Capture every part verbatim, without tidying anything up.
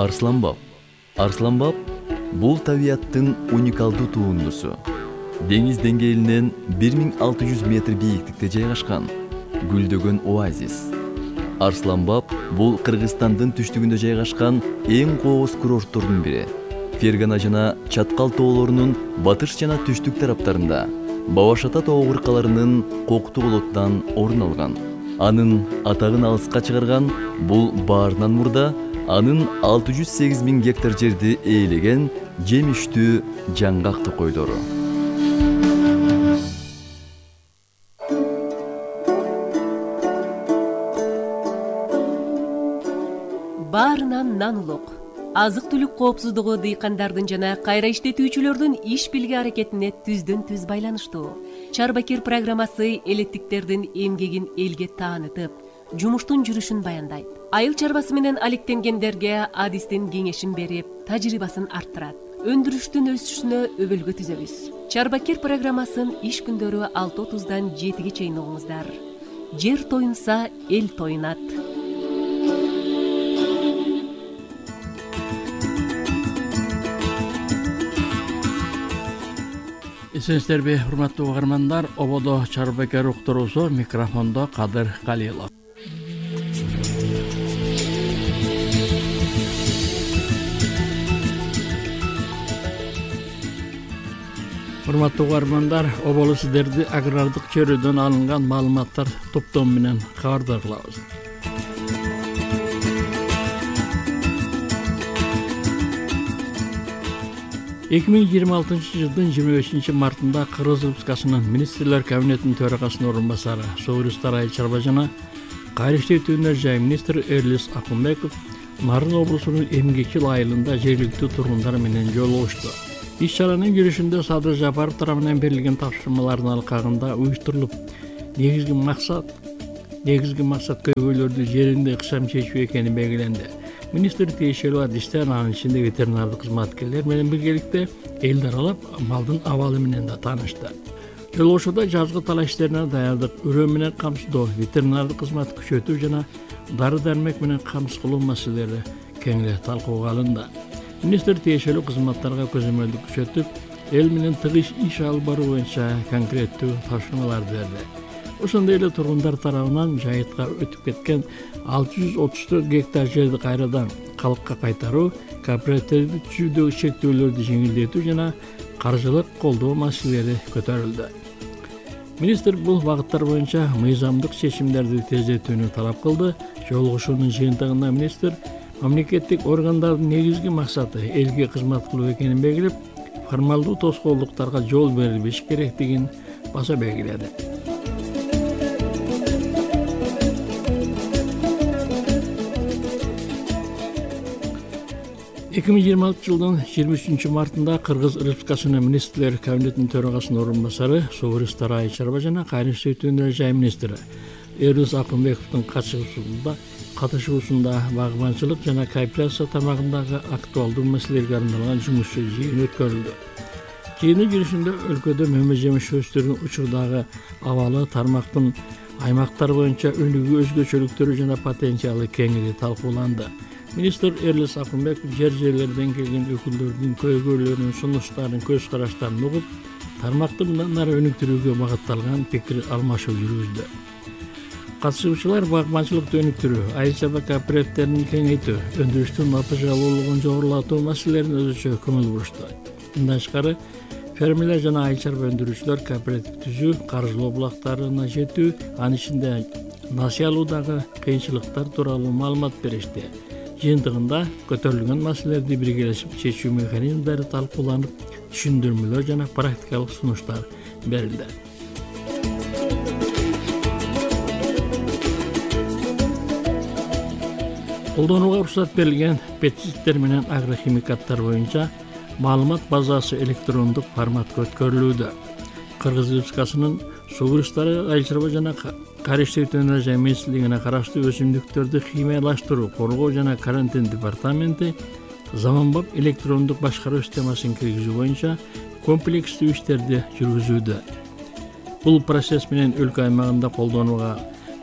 Арсланбап. Арсланбап бул табияттын уникалдуу туындусу. Деңиз деңгээлинен бир миң алты жүз метр бийиктикте жайгашкан гүлдөгөн оазис. Арсланбап бул Кыргызстандын түштүгүндө жайгашкан эң кооз курорттордун бири. Фергана жана Чаткал тоолорунун батыш жана түштүк тараптарында Бабашата тоо кыркаларынын коктуу болоттан орун алган. Анын атагын алыска чыгарган бул баарынан мурда анын алты жүз сегиз миң гектар жерди ээлеген жемиштүү жаңгак токойдору. Баарынан нан улук. Азык-түлүк коопсуздугу дыйкандардын жана кайра иштетүүчүлөрдүн иш билги аракетине түздөн түз байланыштуу. Чарбакир программасы элеттиктердин эмгегин элге таанытып, жумуштун жүрүшүн баяндайт. Айыл чарбасы менен алектенгендерге адистин кеңешин берип, тажрыйбасын арттырат. Өндүрүштүн өсүшүнө өбөлгө түзөбүз. Чарбакир программасын иш күндөрү алты отуздан жетиге чейин угуңуздар. Жер тоюнса, эл тоюнат. Эсенсиздерби, урматтуу угармандар, ободо Чарбакир уктуруусу, микрофондо Кадыр Калилов. Урматтуу угармандар, оболу сиздерди агрардык чөйрөдөн алынган маалыматтар топтому менен кабардар кылабыз. эки миң жыйырма алтынчы жылдын жыйырма бешинчи мартында Кыргыз Республикасынын министрлер кабинетинин төрагасынын орун басары Согуристар Айыл чарба жана кайра иштетүүнөр жай министри Эрлис Акунбеков Нарын облусунун Эмгекчил айылында жергиликтүү тургундар менен жолугушту. Иш чаранын жүрүшүндө Садыр Жапаров тарабынан берилген тапшырмалардын алкагында уюштурулуп, негизги максат негизги максат көйгөйлөрдү жеринде ыкчам чечүү экени белгиленди. Министр тиешелүү адистер, анын ичинде ветеринардык кызматкерлер менен биргеликте элди аралап, малдын абалы менен да таанышты. Жолугушууда жазгы талаш иштерине даярдык, үрөө менен камсыздоо, ветеринардык кызматты күчөтүү жана дары-дармек менен камсыз кылуу маселелери кеңири талкууга алынды. Министр тиешелүү кызматтарга көзөмөлдүк күчөтүп, эл менен тыгыз иш алып баруу боюнча конкреттүү тапшырмаларды берди. Ошондой эле тургундар тарабынан жайытка өтүп кеткен алты жүз отуз төрт гектар жерди кайрадан калкка кайтаруу, кооперативди түзүүдөгү чектөөлөрдү жеңилдетүү жана каржылык колдоо маселелери көтөрүлдү. Министр бул багыттар боюнча мыйзамдык чечимдерди тездетүүнү талап кылды. Жолугушуунун жыйынтыгында министр мамлекеттик органдардын негизги максаты элге кызмат кылуу экенин белгилеп, формалдуу тоскоолдуктарга жол берилбеш керектигин баса белгиледи. эки миң жыйырма алтынчы жылдын жыйырма үчүнчү мартында Кыргыз Республикасынын министрлер кабинетинин төрагасынын орун басары Согуристар Айыл чарба жана кайра иштетүүнөр жай министри Эрлис Акунбековдун катышуусунда катышуусунда багбанчылык жана кооперация тармагындагы актуалдуу маселелерге арналган жумушчу жыйын өткөрүлдү. Жыйындын жүрүшүндө өлкөдө мөмө жемиш өстөрүнүн учурдагы абалы, тармактын аймактар боюнча өнүгүү өзгөчөлүктөрү жана потенциалы кеңири талкууланды. Министр Эрлис Акунбеков жер жерлерден келген өкүлдөрдүн көйгөйлөрүн, сунуштарын, көз караштарын угуп, тармакты мындан ары өнүктүрүүгө багытталган пикир алмашуу жүргүздү. Катышуучулар багбанчылыкты өнүктүрүү, айыл чарба кооперативдерин кеңейтүү, өндүрүштүн натыйжалуулугун жогорулатуу маселелерине өзүчө көңүл бурушту. Мындан тышкары, фермерлер жана айыл чарба өндүрүүчүлөр кооператив түзүү, каржылоо булактарына жетүү, анын ичинде насыя алуудагы кыйынчылыктар тууралуу маалымат беришти. Жыйынтыгында көтөрүлгөн маселелерди биргелешип чечүү механизмдери талкууланып, түшүндүрмөлөр жана практикалык сунуштар берилди. Колдонууга уруксат берилген пестициддер менен агрохимикаттар боюнча маалымат базасы электрондук форматка өткөрүлүүдө. Кыргыз Республикасынын Согуристар Айыл чарба жана кайра иштетүүнөр жай министрлигине караштуу өсүмдүктөрдү химиялаштыруу, коргоо жана карантин департаменти заманбап электрондук башкаруу системасын киргизүү боюнча комплекстүү иштерди жүргүзүүдө. Бул процесс менен өлкө аймагында колдонууга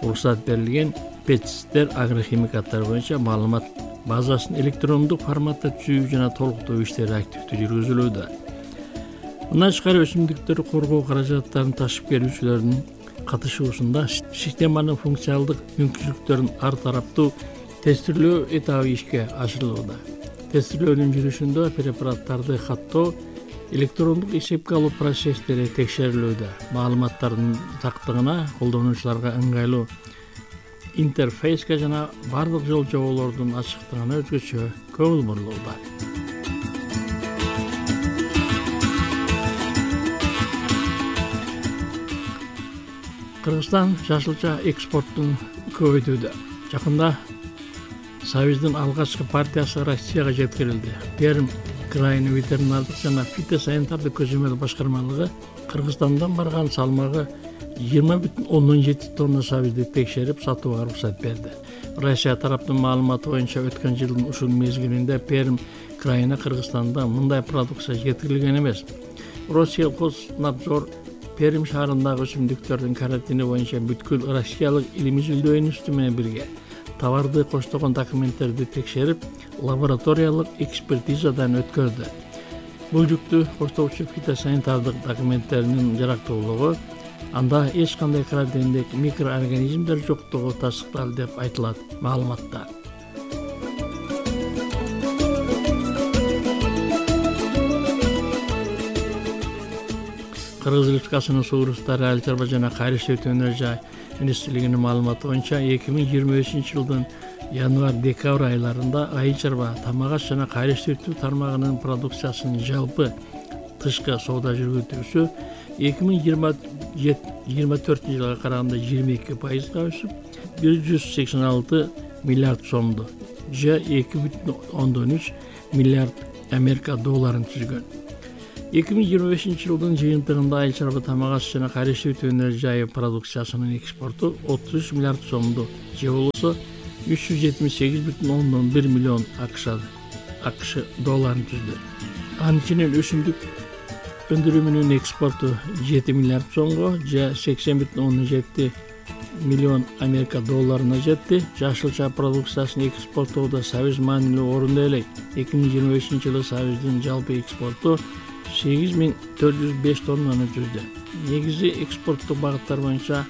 уруксат берилген пестициддер, агрохимикаттар боюнча маалымат базасын электрондук форматта түзүү жана толуктоо иштери активдүү жүргүзүлүүдө. Мындан тышкары өсүмдүктөрдү коргоо каражаттарын ташып келүүчүлөрдүн катышуусунда системанын функционалдык мүмкүнчүлүктөрүн ар тараптуу тестирлөө этабы ишке ашырылууда. Тестирлөөнүн жүрүшүндө препараттарды каттоо, электрондук эсепке алуу процесстери текшерилүүдө. Маалыматтардын тактыгына, колдонуучуларга ыңгайлуу интерфейске жана бардык жол жоболордун ачыктыгына өзгөчө көңүл бурулууда. Кыргызстан жашылча экспорттун көбөйтүүдө. Жакында Союздун алгачкы партиясы Россияга жеткирилди. Пермь крайынын ветеринардык жана фитосанитардык көзөмөл башкармалыгы Кыргызстандан барган салмагы жыйырма бүтүн ондон жети тонна сабизди текшерип сатууга уруксат берди. Россия тараптын маалыматы боюнча өткөн жылдын ушул мезгилинде Пермь крайына Кыргызстанда мындай продукция жеткирилген эмес. Россельхознадзор Пермь шаарындагы өсүмдүктөрдүн карантини боюнча бүткүл россиялык илимий изилдөө институту менен бирге товарды коштогон документтерди текшерип, лабораториялык экспертизадан өткөрдү. Бул жүктү коштоочу фитосанитардык документтеринин жарактуулугу, анда эч кандай карантиндик микроорганизмдер жоктугу тастыкталды деп айтылат маалыматта. Кыргыз Республикасынын суу ресурстары, айыл чарба жана кайрылыш өнөр жай министрлигинин маалыматы боюнча эки миң жыйырма бешинчи жылдын январь-декабрь айларында айыл чарба, тамак аш жана кайрылыш тармагынын продукциясынын жалпы тышкы соода жүргүзүүсү эки миң жыйырма төртүнчү жылга караганда жыйырма эки пайызга өсүп, бир жүз сексен алты миллиард сомду же эки бүтүн ондон үч миллиард Америка долларын түзгөн. эки миң жыйырма бешинчи жылдын жыйынтыгында айыл чарба, тамак аш жана кайрылыш өнөр жайы продукциясынын экспорту отуз үч миллиард сомду же болбосо үч жүз жетимиш сегиз бүтүн ондон бир миллион АКШ долларын түздү. Анын ичинен өсүмдүк өндүрүмүнүн экспорту жети миллиард сомго же сексен бүтүн ондон жети миллион Америка долларына жетти. Жашылча продукциясын экспорттоодо Союз маанилүү орунду ээлейт. эки миң жыйырма бешинчи жылы Союздун жалпы экспорту сегиз миң төрт жүз беш тоннаны түздү. Негизи экспорттук багыттар боюнча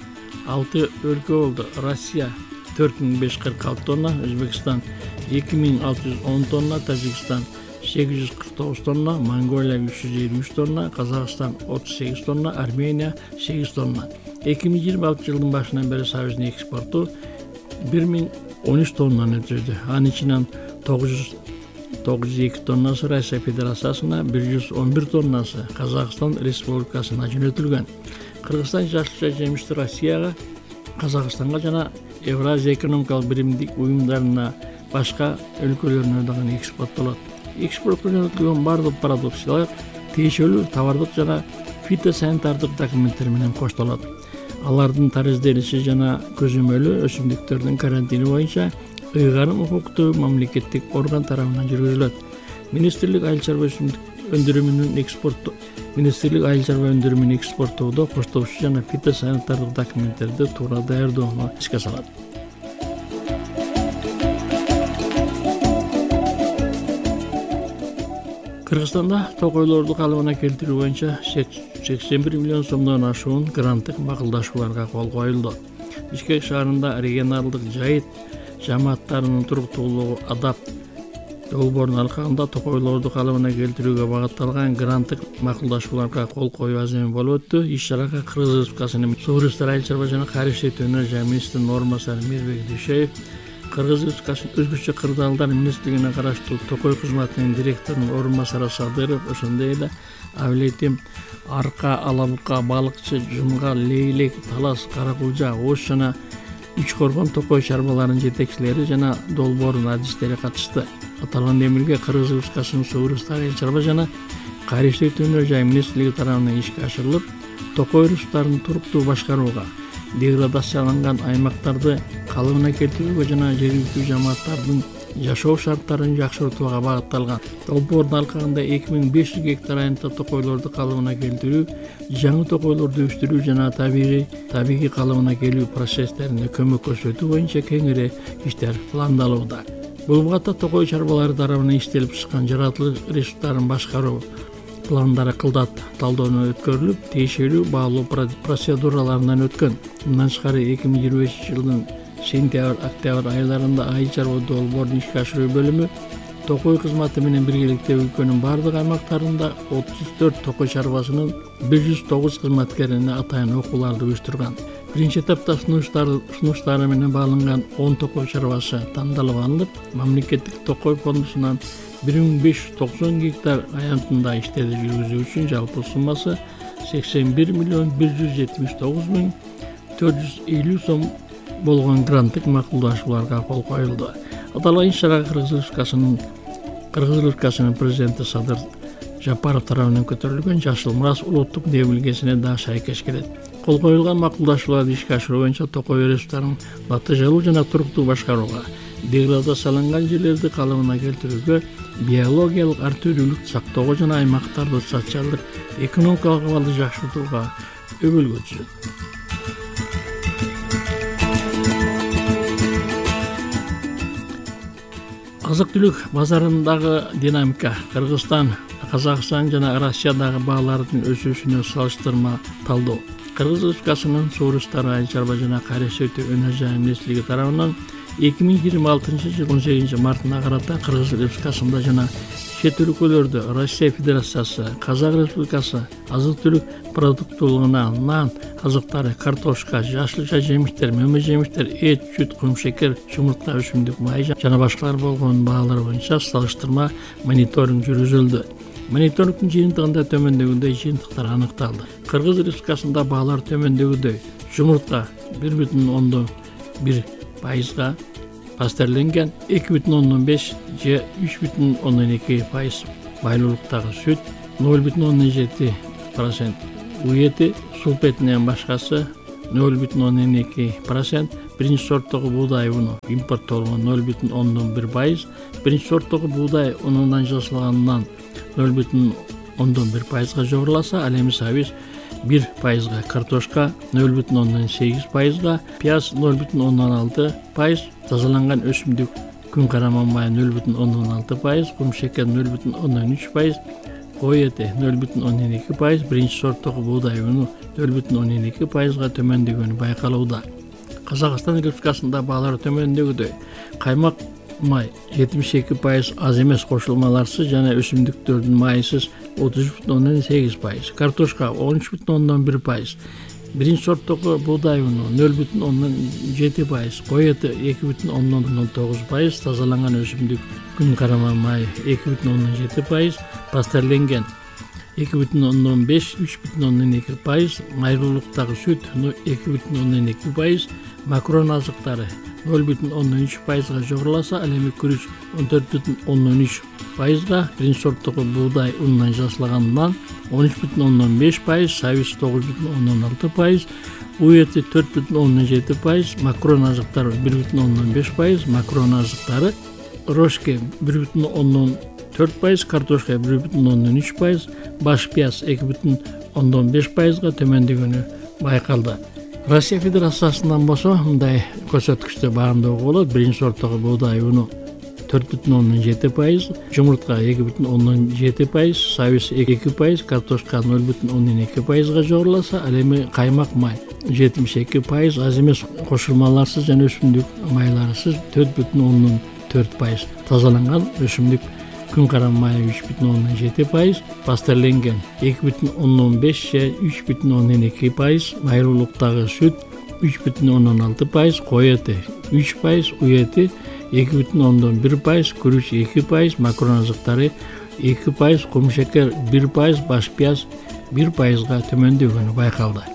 алты өлкө болду. Россия төрт миң беш жүз кырк алты тонна, Өзбекстан эки миң алты жүз он тонна, Тажикстан сегиз жүз кырк тогуз тонна, Монголия үч жүз элүү үч тонна, Казакстан отуз сегиз тонна, Армения сегиз тонна. эки миң жыйырма алтынчы жылдын башынан бери Союздун экспорту бир миң он үч тоннаны түздү. Анын ичинен тогуз жүз эки тоннасы Россия Федерациясына, бир жүз он бир тоннасы Казакстан Республикасына жөнөтүлгөн. Кыргызстан жашылча жемишти Россияга, Казакстанга жана Евразия экономикалык биримдик уюмдарына, башка өлкөлөрүнө дагы экспорттолот. Экспортко жөнөтүлгөн бардык продукциялар тиешелүү товардык жана фитосанитардык документтер менен коштолот. Алардын тариздениши жана көзөмөлү өсүмдүктөрдүн карантини боюнча ыйгарым укуктуу мамлекеттик орган тарабынан жүргүзүлөт. Министрлик айыл чарба өндүрүмүнүн экспорту Министрлик айыл чарба өндүрүмүн экспорттоодо коштоочу жана фитосанитардык документтерди туура даярдоону ишке салат. Кыргызстанда токойлорду калыбына келтирүү боюнча сексен бир миллион сомдон ашуун гранттык макулдашууларга кол коюлду. Бишкек шаарында регионалдык жайыт жамааттарынын туруктуулугу адап долбоорунун аркасында токойлорду калыбына келтирүүгө багытталган гранттык макулдашууларга кол коюу аземи болуп өттү. Иш-чарага Кыргыз Республикасынын суу ресурстары, айыл чарба жана кайрылыш өнөр жай министринин орун басары Мирбек Дүйшеев, Кыргыз Республикасынын өзгөчө кырдаалдар министрлигине караштуу Токой кызматынын директорунун орун басары Садыров, ошондой эле Авлетим, Арка, Алабука, Балыкчы, Жумга, Лейлек, Талас, Каракулжа, Ош жана Үч Коргон Токой чарбаларынын жетекчилери жана долбоордун адистери катышты. Аталган демилге Кыргыз Республикасынын суу ресурстары, айыл чарба жана кайрылыш өнөр жай министрлиги тарабынан ишке ашырылып, Токой ресурстарын туруктуу башкарууга, деградацияланган аймактарды калыбына келтирүүгө жана жергиликтүү жамааттардын жашоо шарттарын жакшыртууга багытталган. Долбоордун алкагында эки миң беш жүз гектар айымта токойлорду калыбына келтирүү, жаңы токойлорду өстүрүү жана табигый табигый калыбына келүү процесстерине көмөк көрсөтүү боюнча кеңири иштер пландалууда. Бул багытта токой чарбалары тарабынан иштелип чыккан жаратылыш ресурстарын башкаруу пландары кылдат талдоонун өткөрүлүп, тиешелүү баалоо процедураларынан өткөн. Мындан тышкары эки миң жыйырма бешинчи жылдын сентябрь-октябрь айларында айыл чарба долбоордун ишке ашыруу бөлүмү токой кызматы менен биргеликте өлкөнүн бардык аймактарында отуз төрт токой чарбасынын бир жүз тогуз кызматкерине атайын окууларды уюштурган. Биринчи этапта сунуштары менен бааланган он токой чарбасы тандалып алынып, мамлекеттик токой фондусунан бир миң беш жүз токсон гектар аянтында иштерди жүргүзүү үчүн жалпы суммасы сексен бир миллион бир жүз жетимиш тогуз миң төрт жүз элүү сом болгон гранттык макулдашууларга кол коюлду. Аталган иш-чарага Кыргыз Республикасынын Кыргыз Республикасынын президенти Садыр Жапаров тарабынан көтөрүлгөн Жашыл Мурас улуттук демилгесине да шайкеш келет. Кол коюлган макулдашууларды ишке ашыруу боюнча токой ресурстарын натыйжалуу жана туруктуу башкарууга, деградацияланган жерлерди калыбына келтирүүгө, биологиялык ар түрдүүлүктү сактоого жана аймактарды социалдык экономикалык абалды жакшыртууга өбөлгө түзөт. Азык-түлүк базарындагы динамика Кыргызстан, Казакстан жана Россиядагы баалардын өсүүсүнө салыштырма талдоо. Кыргыз Республикасынын Суу ресурстары айыл чарба жана кайра-иштетүү өнөр-жай министрлиги тарабынан эки миң жыйырма алтынчы жылдын он сегизинчи мартына карата Кыргыз Республикасында жана чет өлкөлөрдө Россия Федерациясы, Казак Республикасы азык-түлүк продуктуулугуна нан, азыктары, картошка, жашылча жемиштер, мөмө жемиштер, эт, сүт, кумшекер, чумуртка, өсүмдүк май жана башкалар болгон баалар боюнча салыштырма мониторинг жүргүзүлдү. Мониторингдин жыйынтыгында төмөндөгүдөй жыйынтыктар аныкталды. Кыргыз Республикасында баалар төмөндөгүдөй: жумуртка бир бүтүн ондон бир пайызга пастерленген, эки бүтүн ондон беш же үч бүтүн ондон эки пайыз байлуулуктагы сүт, ноль бүтүн ондон жети процент уети, сулпетинен башкасы ноль бүтүн ондон эки процент, биринчи сорттогу буудай уну импорттолгон ноль бүтүн ондон бир пайыз, биринчи сорттогу буудай унунан жасалган нан ноль бүтүн ондон бир пайызга жогоруласа, ал эми сабиз бир пайызга, картошка ноль бүтүн ондон сегиз пайызга, пияз ноль бүтүн ондон алты пайыз, тазаланган өсүмдүк күн караман май ноль бүтүн ондон алты пайыз, кумшекер ноль бүтүн ондон үч пайыз, кой эти ноль бүтүн ондон эки пайыз, биринчи сорттогу буудай уну ноль бүтүн ондон эки пайызга төмөндөгөнү байкалууда. Казакстан Республикасында баалар төмөндөгүдөй: каймак май жетимиш эки пайыз, аз эмес кошулмаларсыз жана өсүмдүктөрдүн майысыз отуз үч бүтүн ондон сегиз пайыз, картошка он үч бүтүн ондон бир пайыз, биринчи сорттогу буудай уну ноль бүтүн ондон жети пайыз, кой эти эки бүтүн ондон тогуз пайыз, тазаланган өсүмдүк күн караман май эки бүтүн ондон жети пайыз, пастерленген эки бүтүн ондон беш үч бүтүн ондон эки пайыз, майруулуктагы сүт эки бүтүн ондон эки пайыз, макарон азыктары ноль бүтүн ондон үч пайызга жогоруласа, ал эми күрүч он төрт бүтүн ондон үч пайызга, биринчи сорттогу буудай унунан жасалган нан он үч бүтүн ондон беш пайыз, сабиз тогуз бүтүн ондон алты пайыз, уети төрт бүтүн ондон жети пайыз, макарон азыктары бир бүтүн ондон беш пайыз, макарон азыктары рожке бир бүтүн ондон төрт пайыз, картошка бир бүтүн ондон үч пайыз, баш пияз эки бүтүн ондон беш пайызга төмөндөгөнү байкалды. Россия Федерациясынан болсо мындай көрсөткүчтө баамдоого болот: биринчи сорттогу буудай уну төрт бүтүн ондон жети пайыз, жумуртка эки бүтүн ондон жети пайыз, сабиз эки пайыз, картошка ноль бүтүн ондон эки пайызга жогоруласа, ал эми каймак май жетимиш эки пайыз, аз эмес кошулмаларсыз жана өсүмдүк майларысыз төрт бүтүн ондон төрт пайыз, тазаланган өсүмдүк күн карам май үч бүтүн ондон жети пайыз, пастерленген эки бүтүн ондон беш же үч бүтүн ондон эки пайыз, майруулуктагы сүт үч бүтүн ондон алты пайыз, кой эти үч пайыз, уети эки бүтүн ондон бир пайыз, күрүч эки пайыз, макарон азыктары эки пайыз, кумшекер бир пайыз, баш пияз бир пайызга төмөндөгөнү байкалды.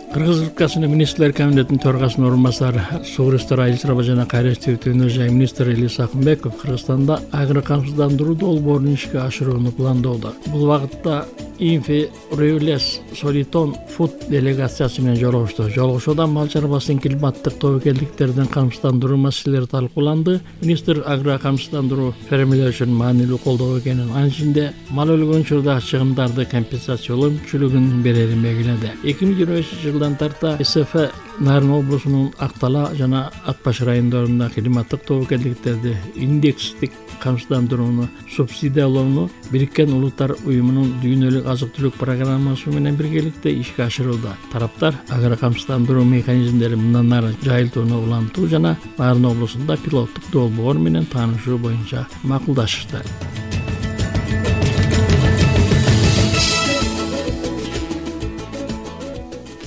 Кыргыз Республикасынын Министрлер Кабинетинин төрагасынын орун басары, Суу ресурстары айыл чарба жана кайра-иштетүү өнөр-жай министри Элис Акынбеков Кыргызстанда агро камсыздандыруу долбоорун ишке ашырууну пландоодо. Бул багытта Инфи-Рюлес Солитон Фуд делегациясы менен жолугушту. Жолугушууда мал чарбасынын климаттык тобокелдиктерден камсыздандыруу маселелери талкууланды. Министр агро камсыздандыруу фермерлер үчүн маанилүү колдоо экенин, анын ичинде мал өлгөн учурда чыгымдарды компенсациялоо мүмкүнчүлүгүн берерин белгиледи. эки миң жыйырма бешинчи жылдан тарта эс эф Нарын облусунун Актала жана Ат баш райондорунда климаттык тобокелдиктерди индекстик камсыздандырууну субсидиялоону Бириккен Улуттар уюмунун дүйнөлүк азык-түлүк программасы менен биргеликте ишке ашырууда. Тараптар агро камсыздандыруу механизмдерин мындан ары жайылтууну улантуу жана Нарын облусунда пилоттук долбоор менен таанышуу боюнча макулдашышты.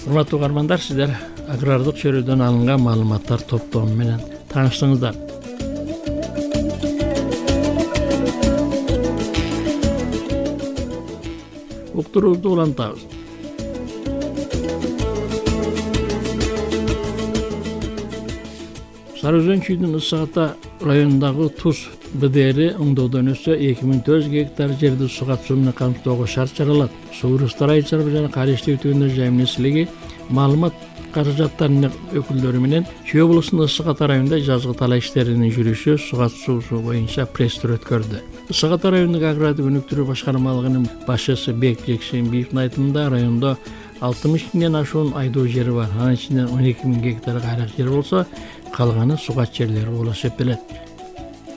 Урматтуу угармандар, сиздер агрардык чөйрөдөн алынган маалыматтар топтому менен тааныштыңыздар. Уктуруубузду улантабыз. Сары Өзөн чүйдүн Ысык Ата районундагы Туз Б Д Р оңдоодон өссө эки миң төрт жүз гектар жерди суу катышуу менен камсыздоого шарт чаралат. Суу ресурстары айыл жана Кариштүү өтүүнөр жайы министрлиги маалымат каражаттарынын өкүлдөрү менен Чүй облусунун Ысык Ата районунда жазгы талаа иштеринин жүрүшү суу катышуусу боюнча пресс-тур өткөрдү. Ысык Ата районундук агрардык өнүктүрүү башкармалыгынын башчысы Бек Жекшенбиевдин айтымында райондо алтымыш миңден ашуун айдоо жери бар. Анын ичинен он эки миң гектар кайрак жер болсо, калганы сугат жерлери болуп эсептелет.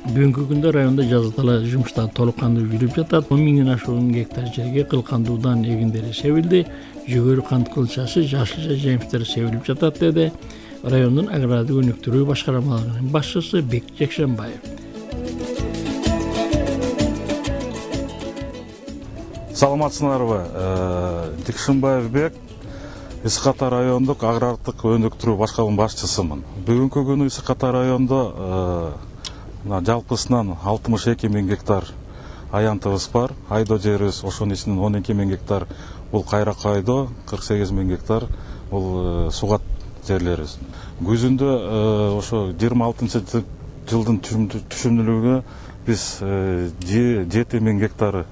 Бүгүнкү күндө районда жазгы талаа жумуштары толук кандуу жүрүп жатат. он миңден ашуун гектар жерге кылкандуудан эгиндери себилди. Жүгөрү кант кылчасы, жашылча жемиштер себилип жатат, деди райондун агрардык өнүктүрүү башкармалыгынын башчысы Бек Жекшенбаев. Саламатсыңарбы? Жекшенбаев Бек, Ысык Ата райондук агрардык өнүктүрүү башкармалыгынын башчысымын. Бүгүнкү күнү Ысык Ата райондо жалпысынан алтымыш эки миң гектар аянтыбыз бар. Айдоо жерибиз ошонун ичинен он эки миң гектар бул кайрак айдоо, кырк сегиз миң гектар бул сугат жерлерибиз. Күзүндө ошо жыйырма алтынчы жылдын түшүмдүүлүгү биз жети миң гектар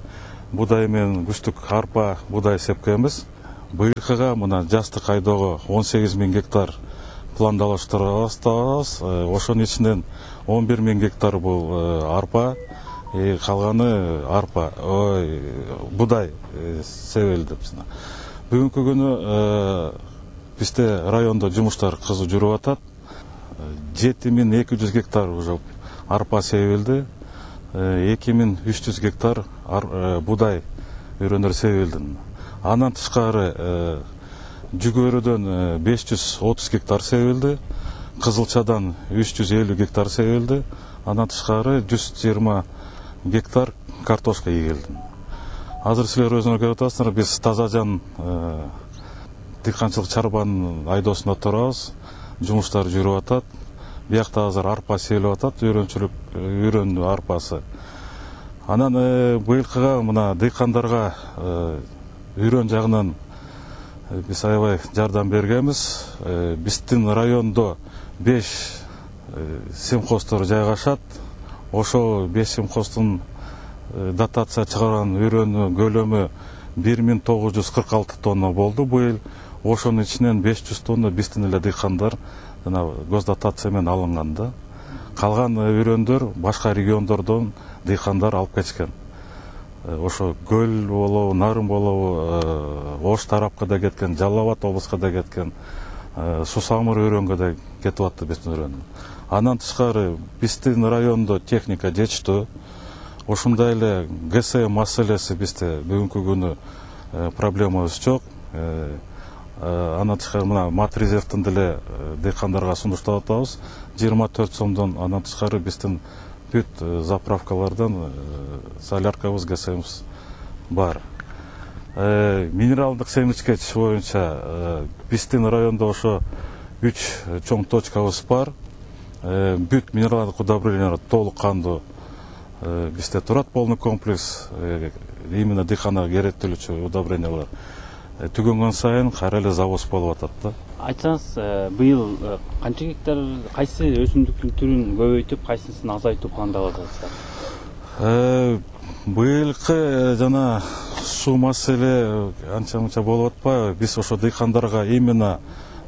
будай менен күздүк арпа, будай сепкенбиз. Быйылкыга мына жаздык айдоого он сегиз миң гектар пландалаштырабыз. Ошонун ичинен он бир миң гектар бул арпа, калганы арпа, ой, будай себилди. Бүгүнкү күнү бизде райондо жумуштар кызуу жүрүп атат. жети миң эки жүз гектар уже арпа себилди. эки миң үч жүз гектар будай өрөндөр себилди. Андан тышкары жүгөрүдөн беш жүз отуз гектар себилди. Кызылчадан үч жүз элүү гектар себилди. Андан тышкары жүз жыйырма гектар картошка эгилди. Азыр силер өзүңөр көрүп атасыздар, биз Таза Жан дыйканчылык чарбанын айдоосунда турабыз. Жумуштар жүрүп атат. Биякта азыр арпа себилип атат, үйрөнчүлүк үйрөн арпасы. Анан быйылкыга мына дыйкандарга үйрөн жагынан биз аябай жардам бергенбиз. Биздин райондо беш семхоздор жайгашат. Ошо беш семхоздун дотация чыгарган үйрөнү көлөмү бир миң тогуз жүз кырк алты тонна болду быйыл. Ошонун ичинен беш жүз тонна биздин эле дыйкандар жана гос дотация менен алынган да. Калган үйрөндөр башка региондордон дыйкандар алып кеткен. Ошо Көл болобу, Нарын болобу, Ош тарапка да кеткен, Жалал Абад облуска да кеткен, Сусамыр өрөнгө да кетип атты биздин өрөн. Андан тышкары биздин райондо техника жетиштүү. Ошондой эле ГС маселеси бизде бүгүнкү күнү проблемабыз жок. Андан тышкары мына Матризевдин деле дыйкандарга сунуштап атабыз. жыйырма төрт сомдон андан тышкары биздин бүт заправкалардан соляркабыз, ГСМибиз бар. Минералдык семичкеч боюнча биздин райондо ошо үч чоң точкабыз бар. Бүт минералдык удобрениялар толук кандуу бизде турат, полный комплекс. Именно дыйканга керектүүлүчү удобрениялар түгөнгөн сайын кайра эле завоз болуп атат да. Айтсаңыз, быйыл канча гектар кайсы өсүмдүктүн түрүн көбөйтүп, кайсысын азайтуу пландап атасыздар? Быйылкы жана суу маселе анча мынча болуп атпайбы? Биз ошо дыйкандарга именно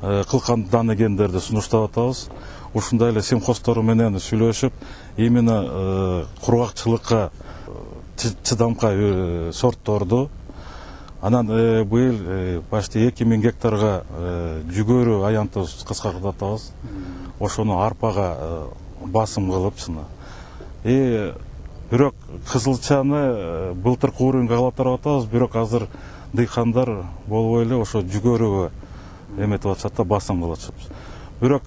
кылкан эгендерди сунуштап атабыз. Ушундай эле симхоздору менен сүйлөшүп, именно кургакчылыкка чыдамкай сортторду. Анан быйыл почти эки миң гектарга жүгөрү аянтты кыскартатабыз. Ошону арпага басым кылып чына. И бирок кызылчаны былтыркы уровеньге калатырып атабыз, бирок азыр дыйкандар болбой эле ошо жүгөрүгө эметип атышат да, басым кылып атышат. Бирок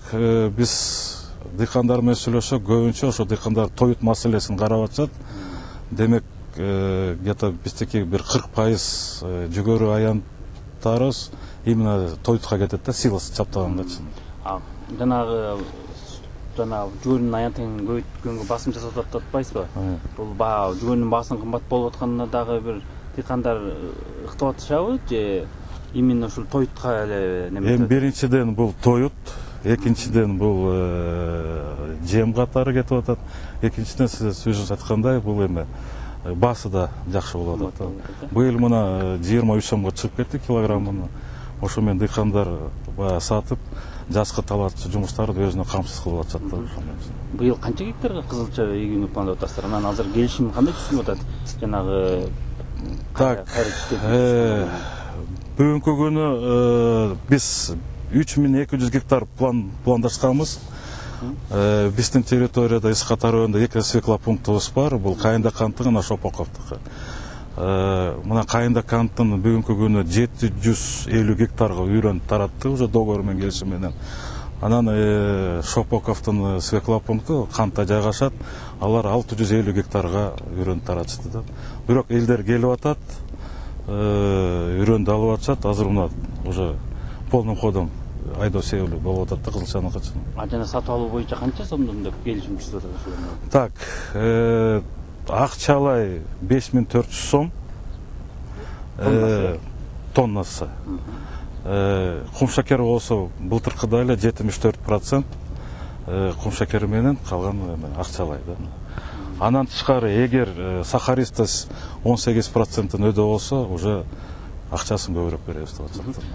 биз дыйкандар менен сүйлөшсөк, көбүнчө ошо дыйкандар тоют маселесин карап атышат. Демек где-то биздики бир кырк пайыз жүгөрү аянттарыбыз именно тоютка кетет да, силос чаптагангачы. Жанагы жанагы жүгөрүнүн аянтын көбөйткөнгө басым жасап атат атпайсызбы? Бул баа жүгөрүнүн баасынын кымбат болуп атканына дагы бир дыйкандар ыктап атышабы же именно ушул тоютка эле неме? Эми биринчиден бул тоют, экинчиден бул жем катары кетип атат. Экинчиден сиз өзүңүз айткандай бул эме баасы да жакшы болуп атат. Быйыл мына жыйырма үч сомго чыгып кетти килограммын. Ошо менен дыйкандар баягы сатып, жазгы талаачы жумуштарды өзүнө камсыз кылып атышат да. Быйыл канча гектарга кызылча эгүүнү пландап атасыздар? Анан азыр келишим кандай түзүлүп атат? Жанагы так, бүгүнкү күнү биз үч миң эки жүз гектар пландашканбыз. Биздин территорияда Исхат районунда эки свекла пунктубуз бар. Бул Кайында канттын жана Шопоковдуку. Мына Кайында канттын бүгүнкү күнү жети жүз элүү гектарга үйрөн таратты уже договор менен келишим менен. Анан Шопоковдун свекла пункту кантта жайгашат. Алар алты жүз элүү гектарга үйрөн таратышты да. Бирок элдер келип атат, үйрөндү алып атышат. Азыр мына уже полным ходом айдоо себеби болуп атат да кызылчаныкы. А жана сатып алуу боюнча канча сомдон деп келишим түзүп атат? Так, акчалай беш миң төрт жүз сом тоннасы. Кум шакери болсо былтыркыдай эле жетимиш төрт процент кум шакери менен, калган акчалай да. Анан тышкары эгер сахаристость он сегиз проценттен өдө болсо, уже акчасын көбүрөөк беребиз деп атышат.